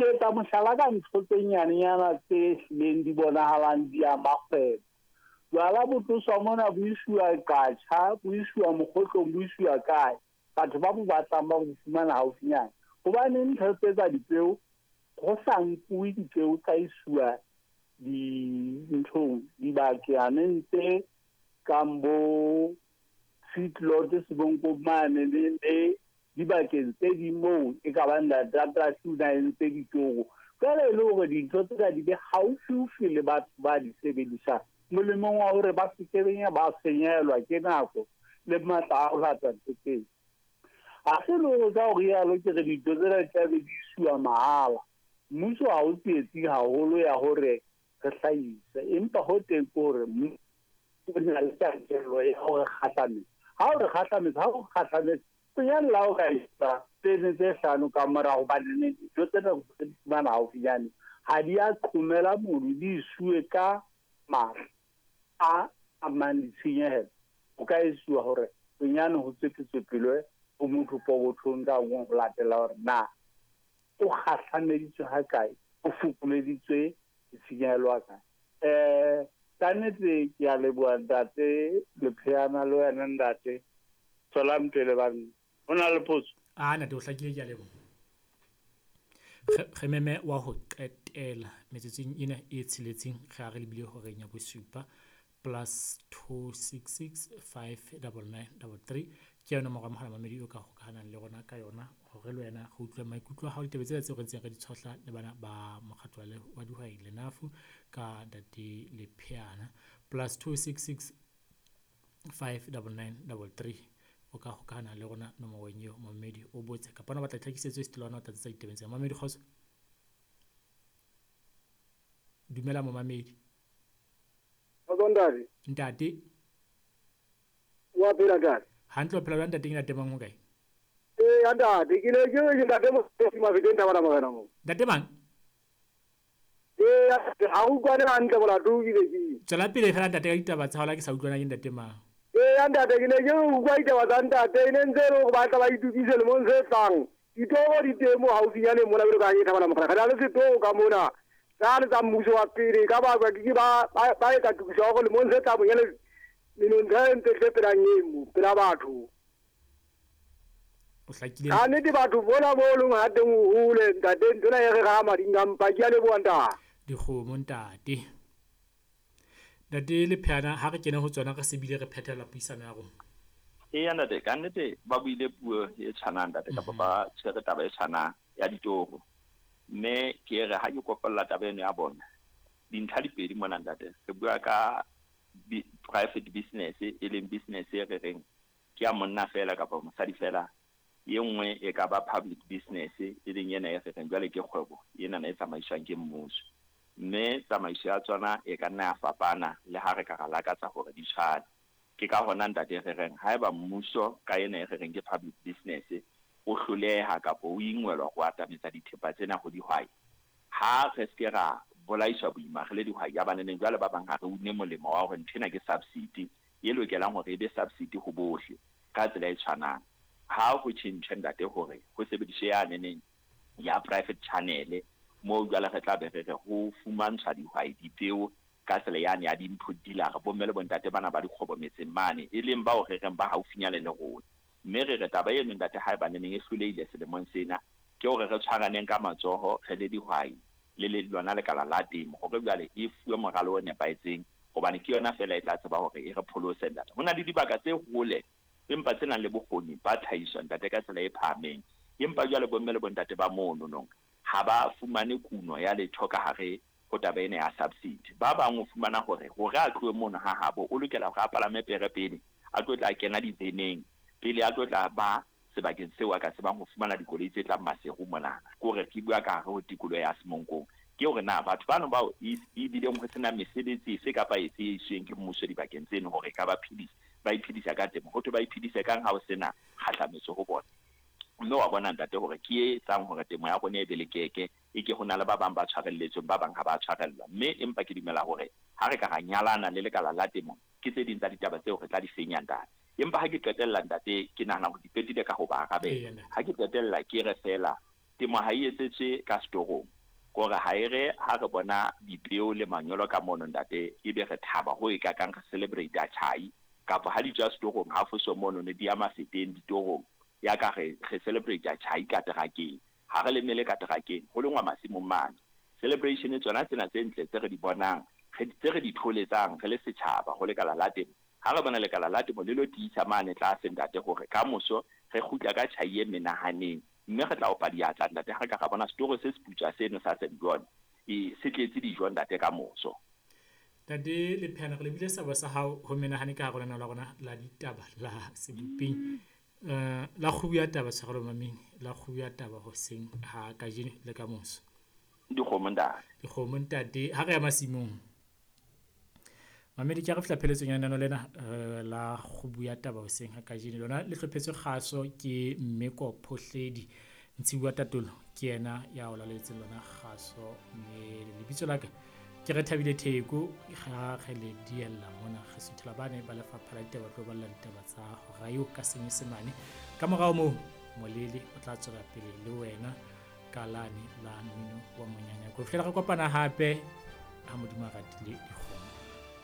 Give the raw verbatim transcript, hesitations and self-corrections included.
Ke etsa mohlala ka ntho tse nyanenyana tse hlileng di bonahalang di ama kgwebo. Jwala bo tloswa mona bo isuwa Qacha, bo isuwa Mokgotlong, bo isuwa kae. Batho ba bo batlang ba bo fumana haufinyana. Hobaneng ntho tse tsa dipeo ho sa nkuwe dipeo tsa isuwa dinthong dibakaneng tse kang bo feedlot Sebonko mane le le dibakeng tse ding moo e ka bang data na entse ditoro. Jwale e le hore dintho tsena di be haufiufi le batho ba di sebedisang, molemong wa hore ba se ke ba senyehelwa ke nako le matla a ho lata ntho tseo. Ha se le hore ka ho rialo ke re dintho tsena di tla be di isuwa mahala. Mmuso ha o tsietsing haholo ya hore re hlahise, empa ho teng ke hore mmuso o na le tjantjello ya hore kgahlametsa. Ha o re kgahlametsa, ha o kgahlametsa, bonyane le ha o ka etsa tene tse hlano ka mora hobane dintho tsena re di fumana haufinyane ha di a qhomela mono, di isuwe ka matla a amang ditshenyehelo. O ka isuwa hore bonyane ho tswetsepele ho motho pokothong ka nngwe ho latela hore na o kgahlameditswe ha kae, o fokoleditswe ditshenyehelo ha kae. Eh, ka nnete ke a leboha ntate Lepheana le wena ntate. Tswelang pele banna. Ho na le potso? Ah, ntate o hlakile, ke a leboha. Re meme wa ho qetela metsotsong ena e tsheletseng re a re lebile horeng ya bosupa plus two six six five double nine double three ke yona nomoro ya mohala mamedi o ka hokahanang le rona ka yona hore le wena re utlwe maikutlo a hao ditabeng tsena tseo re ntseng re di tshohla le bana ba mokgatlo wa dihwai Lenafu ka ntate Lepheana plus two six six five double nine double three o ka hokahana le rona nomorong eo mamedi o botse kapa na batla tlhakisetso e stelwana o tlatsetsa ditabeng tsena. Mamedi kgotso, dumela momamedi. Kgotso ntate. Ntate. Wa phela ntate? Hantle, o phela jwang ntate? Ke ntate mang ho kae? Ee ntate, ke ne ke re ke ntate Mosebetsi Mafeteng Thabana Morena mo. Ntate mang? Ee, ha o utlwane hantle molato o kile ke. Tswela pele fela ntate ka ditaba tsa hao la ke sa utlwana ke ntate mang. Ee ntate, ke ne ke utlwa ditaba tsa ntate e ne ntse e le hore ba tla ba itukise lemong se tlang. Ditoro di teng mo haufinyane mona jwalo ka ha ke Thabana Morena. Re na le setoro ka mona. Tsane tsa mmuso wa pele ka ba ke ba ba etsa tokiso ya hore lemong se tlang bonyane menontsha e ntse tle pela emo pela batho. O hlakile. Ka nnete batho bona bo leng ha teng o hole ntate ntsena e re ra mading a mpa ke a leboha ntate. Dikgomo ntate. Ntate Lepheana ha re kene ho tsona re sebile re phethela puisano ya rona. Eya ntate, ka nnete ba buile puo e tshwanang ntate kapa ba tshwere taba e tshwanang ya ditoro. Mme ke re ha ke kopella taba eno ya bona dintlha di pedi mona ntate. Re bua ka private business e leng business e re reng ke ya monna fela kapa mosadi fela. E nngwe e ka ba public business e leng ena e re reng jwale ke kgwebo ena e tsamaiswang ke mmuso. Mme tsamaiso ya tsona e ka nna ya fapana le ha re ka ra lakatsa hore di tshwane. Ke ka hona ntate re reng haeba mmuso ka ena e re reng ke public business o hloleha kapa o ingwelwa ho atametsa dithepa tsena ho dihwai, ha re se ra bolaiswa boima re le dihwai ya baneneng jwale ba bang ha re une molemo wa hore nthwena ke subsidy e lokelang hore e be subsidy ho bohle ka tsela e tshwanang. Ha ho tjhentjhe ntate hore ho sebediswe ya neneng ya private channel moo jwale re tla be re re ho fumantshwa dihwai dipeo ka tsela yane ya di-input dealer bomme le bontate bana ba dikgwebo metseng mane e leng bao re reng ba haufinyane le rona. Mme re re taba eno ntate haeba neneng e hlolehile selemong sena ke hore re tshwaraneng ka matsoho re le dihwai le le lona lekala la temo hore jwale e fuwe moralo o nepahetseng hobane ke yona fela e tla tseba hore e re pholose ntate. Ho na le dibaka tse hole empa tse nang le bokgoni ba tlhahiso ntate ka tsela e phahameng, empa jwale bomme le bontate ba mono nong ha ba fumane kuno ya letho ka hare ho taba ena ya subsidy. Ba bang o fumana hore hore a tlohe mono ha habo o lokela hore a palame pere pele a tlo tla kena diveneng pele a tlo tla ba sebakeng seo a ka tsebang ho fumana dikoloi tse tlang Maseru monana. Ke hore ke bua ka hare ho tikoloho ya Semonkong. Ke hore na batho bano bao e bileng ho sena mesebetsi efe kapa efe e isweng ke mmuso dibakeng tseno hore e ka ba phedisa, ba iphedisa ka temo. Ho thwe ba iphedise kang ha ho sena kgahlametso ho bona. Mme wa bona ntate hore ke e etsang hore temo ya rona e be lekeke e ke ho na le ba bang ba tshwarelletsweng ba bang ha ba tshwarellwa. Mme empa ke dumela hore ha re ka ra nyalana le lekala la temo ke tse ding tsa ditaba tseo re tla di fenya ntate. Empa ha ke qetella ntate ke nahana hore di qetile ka ho ba arabela. Ha ke qetella ke re fela Temo ha e etsetswe ka setorong. Kore ha e re ha re bona dipeo le manyolo ka mono ntate, ebe re thaba ho e ka kang re celebrate tjhai kapa ha di tswa setorong ha foso mono ne di ya mafeteng ditorong ya ka re re celebrate tjhai ka terakeng. Ha re lemele ka terakeng ho lengwa masimong mane. Celebration tsona tsena tse ntle tse re di bonang, re tse re di tholetsang re le setjhaba ho lekala la temo. Ha re bona lekala la temo le lo tiisa mane tlase ntate hore ka moso re kgutla ka tjhai e menahaneng, mme re tla opa diatla ntate ha re ka ra bona setoro se seputswa seno sa Saint John e se tletse dijo ntate ka moso. Ntate Lepheana, re lebile sabo sa hao ho menahane ka hare ho lenaneo la rona la ditaba la Sebopeng, eh la kgubu ya taba tshwarelo mameng, la kgubu ya taba hoseng ha kajeno le ka moso. Dikgomo ntate. Dikgomo ntate, ha re ya masimong. Mamedi, ke re fihla pheletsong ya lenaneo lena eh, la kgubu ya taba hoseng ha kajeno. Lona le hlophetswe kgaso ke Mmeko Phohledi, Ntshiwa Tatolo ke yena ya o laletseng lona kgaso, mme lebitso la ka ke re Thabile Theko. Ha re le diella mona re suthela bane ba lefapha la ditaba tlo balla ditaba tsa hora eo ka Senyesemane. Ka morao moo Molele o tla tswela pele le wena ka lane la mmino wa monyanyako. Ho fihlela re kopana hape ha Modimo a ratile dikgomo.